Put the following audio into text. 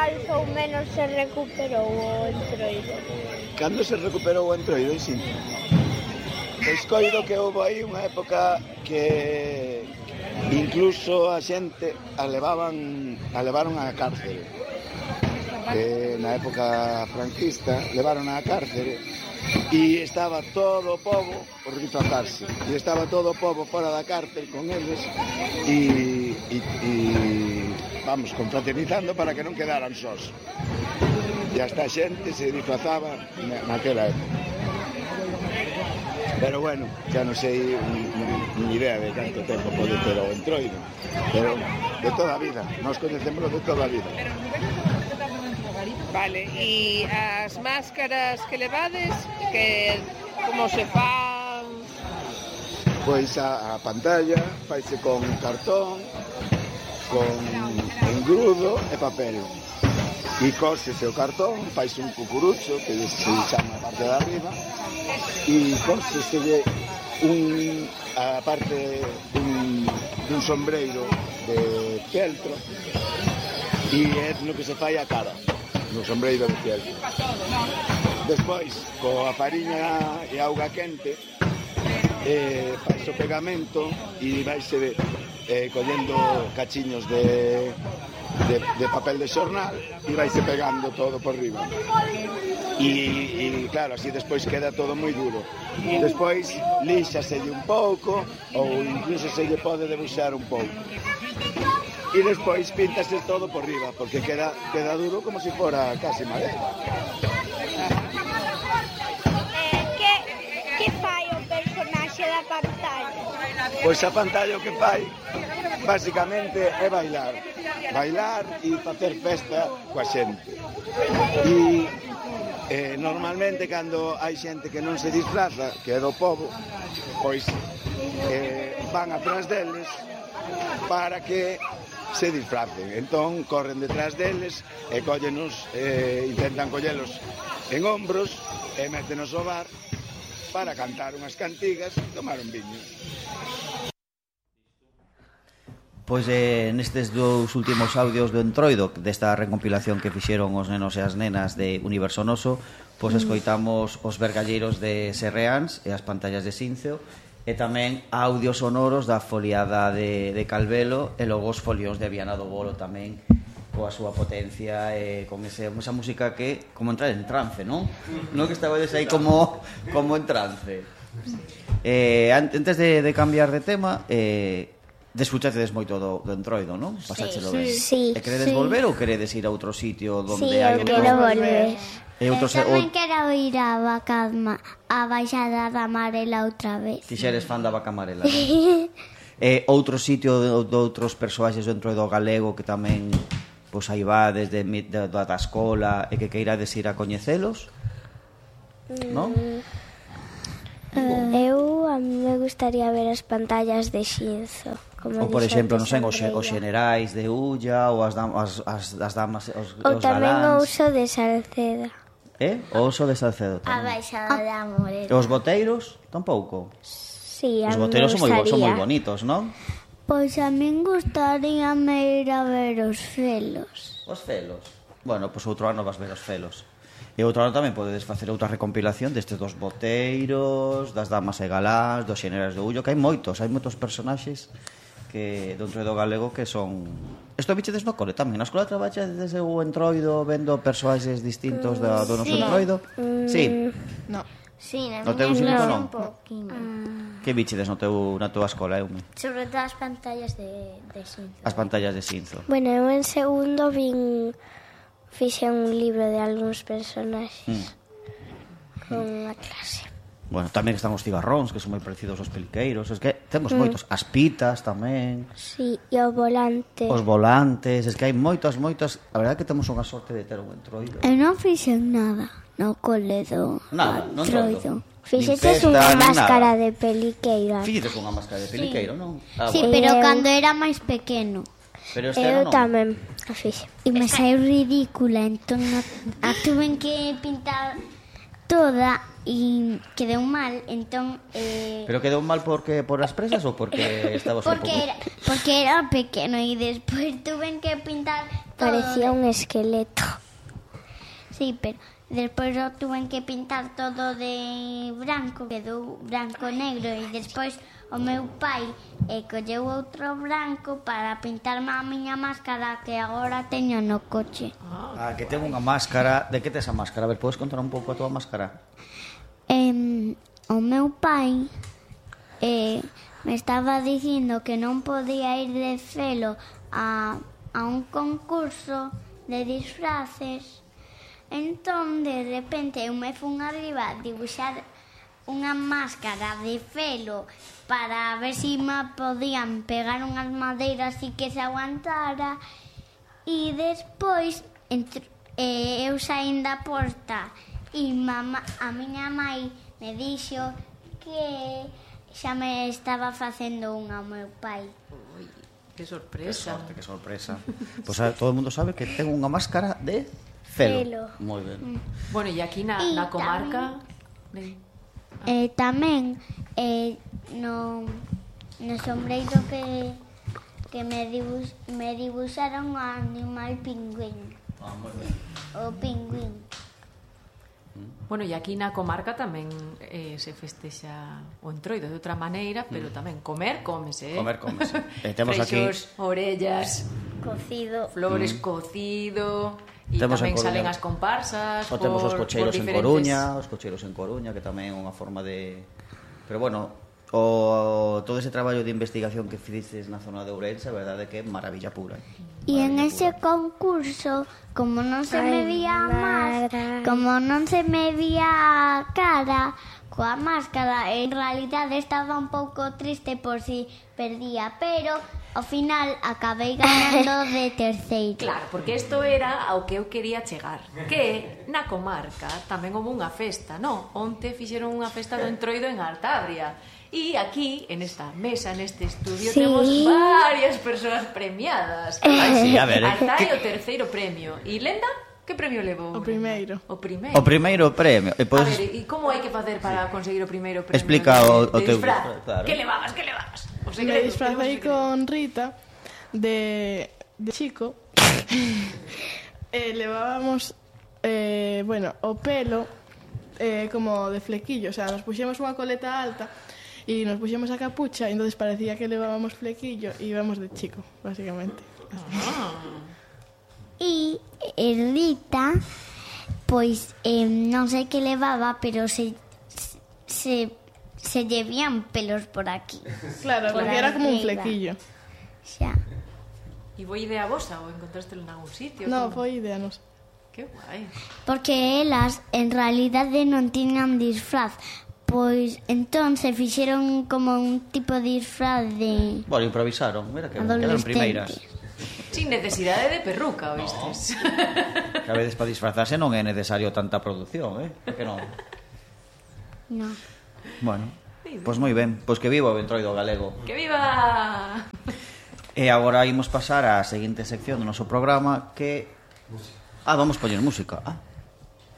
máis ou menos se recuperou o Entroido? Cando se recuperou o Entroido, sí. Pois coido que houve aí unha época que incluso a xente a levaron á cárcere. Que na época franquista levaron á cárcere e estaba todo o pobo por retratarse. E estaba todo o pobo fora da cárcel con eles e vamos, confraternizando para que non quedaran sós. E hasta a xente se disfrazaba naquela época. Pero bueno, xa non sei ni idea de canto tempo pode ter o Entroido, pero de toda a vida, nós conhecémoslo de toda a vida. Vale, e as máscaras que levades, que como se fan? Pois a pantalla faise con cartón, con engrudo e papel. E cósese o cartón, faise un cucurucho, que se chama a parte de arriba, e cósese a parte dun sombreiro de fieltro, e é no que se fai a cara, no sombreiro de fieltro. Despois, coa fariña e auga quente, faise o pegamento e vaise collendo cachiños de papel de xornal e vaise pegando todo por riba e claro, así despois queda todo moi duro. Despois líxaselle un pouco ou incluso se lle pode debuxar un pouco e despois píntase todo por riba porque queda duro como se fora casi madera. Que fai o personaxe da pantalla? Pois a pantalla o que fai basicamente é bailar e facer festa coa xente. E normalmente cando hai xente que non se disfraza, que é do pobo, pois van atrás deles para que se disfracen. Entón corren detrás deles e intentan collelos en hombros e métenos ao bar para cantar unhas cantigas e tomar un viño. Pois nestes dous últimos audios do Entroido, desta recompilación que fixeron os nenos e as nenas de Universo Noso, pois escoitamos os vergalleiros de Serreáns e as pantallas de Sinceo, e tamén audios sonoros da foliada de Calvelo e logo os folións de Viana do Bolo tamén, coa súa potencia e con esa música que como entrar en trance, non? Non que estabades aí como en trance. Antes de cambiar de tema, desfrutastedes moito do Entroido, non? Pasáchelo ben. Sí. E queredes volver ou queredes ir a outro sitio onde hai Sí, eu quero volver. Tamén quero ir a Baixada da Amarela outra vez. Fixeres fan da Vaca Amarela, non? Outro sitio de outros persoaxes do Entroido galego que tamén pois aí va desde da escola e que queirades ir a coñecelos, non? A mí me gustaría ver as pantallas de Xinzo. Ou, por exemplo, non sei, os xenerais de Ulla ou as damas, os ou tamén o galáns. uso de Salceda. O oso de Salcedo A tamén. Baixada da Amarela. E os boteiros, tampouco. Sí, a Os mí me boteiros son moi gustaría. bonitos, non? Pois a min gustaríame ir a ver os felos. Os felos. Bueno, pois outro ano vas ver os felos. E outro ano tamén podedes facer outra recompilación destes dos boteiros, das damas e galáns, dos xenerais do Ullo, que hai moitos personaxes que do Entroido galego que son... Isto bichedes no cole tamén? Na escola traballas desde o Entroido vendo persoaxes distintos do noso Entroido? Sí. No. Sí, na No teu miña instituto clase non? un poquinho. Que bichedes na túa escola, Eume? Sobre todo as pantallas de Xinzo. As pantallas de Xinzo. Bueno, eu en segundo fixe un libro de algúns personaxes con a clase. Bueno, tamén están os cigarróns, que son moi parecidos aos peliqueiros. Es que temos moitos. As pitas tamén. Sí, e o volante. Os volantes. Es que hai moitos. A verdade é que temos unha sorte de ter un Entroido. Eu non fixen nada no cole do Nada, non Entroido. Fixetes Nin unha festa, nin máscara nada. de peliqueira. Fixetes unha máscara de peliqueiro, non? Sí, Bueno. pero Eu- cando era máis pequeno. Pero este Eu ano non. tamén a fixe. E me saiu ridícula, entón a tuven que pintar toda e quedou mal, entón Pero quedou mal porque por as presas ou porque estabas un pouco... porque era pequeno e despois tuven que pintar parecía un esqueleto. Sí, pero despois o tuven que pintar todo de branco, quedou branco e negro, e despois o meu pai colleu outro branco para pintarme a miña máscara que agora teño no coche. Que ten unha máscara. De que tes a máscara? A ver, podes contar un pouco a tua máscara? O meu pai me estaba dicindo que non podía ir de celo a un concurso de disfraces. Entón, de repente, eu me fun arriba a dibuixar unha máscara de felo para ver se me podían pegar unhas madeiras e que se aguantara. E despois eu saín da porta e a miña mãe me dixo que xa me estaba facendo unha ao meu pai. Ui, que sorpresa. Que sorpresa. Pois todo o mundo sabe que ten unha máscara de felo. Moi ben. Bueno, e aquí na comarca... Tamén no sombreiro que me dibuixaron o animal pingüín. Moi ben. O pingüín. Bueno, e aquí na comarca tamén se festexa o Entroido de outra maneira, pero tamén cómese. Comer, cómese. Temos freixos, aquí orellas, Cocido. flores cocido, e Temos tamén en Coruña. salen as comparsas. O temos os cocheiros en diferentes... Coruña, que tamén é unha forma de... Pero bueno, todo ese traballo de investigación que fixeces na zona de Ourense, a verdade é que é maravilla pura. E en ese concurso, como non se me vía como non se me vía a cara coa máscara, en realidade estaba un pouco triste por si perdía, pero ao final acabei ganando de terceiro. Claro, porque isto era ao que eu quería chegar, que na comarca tamén houve unha festa, non? Onte fixeron unha festa do Entroido en Artabria. E aquí, en esta mesa, neste estudio, temos varias persoas premiadas. Sí, a ver, Altai o terceiro premio. E Lenda, que premio levou? O primeiro. O primeiro. O primeiro premio. A ver, e como hai que facer para conseguir o primeiro premio? Explica o teu disfraz. claro. Que levabas? O Me segredo, disfrazei con Rita de chico. Levábamos o pelo como de flequillo, o sea, nos puxemos unha coleta alta e nos puxemos a capucha e entonces parecía que levábamos flequillo e íbamos de chico, básicamente. E Rita, pois non sei que levaba, pero se lle vían pelos por aquí. Claro, Por porque era como un arriba. flequillo. Xa. E foi idea vosa ou encontrastelo en algún sitio? No, Como? foi idea nosa. Que guai. Porque elas en realidade non tiñan disfraz. Pois entón se fixeron como un tipo de disfraz de Bueno, improvisaron, mira que quedaron primeiras. Sin necesidade de perruca, oístes? Que a veces para disfrazarse non é necesario tanta produción, Que non? No. Bueno, pois moi ben. Pois que viva o Entroido galego. Que viva! E agora imos pasar á seguinte sección do noso programa que... vamos poñer música.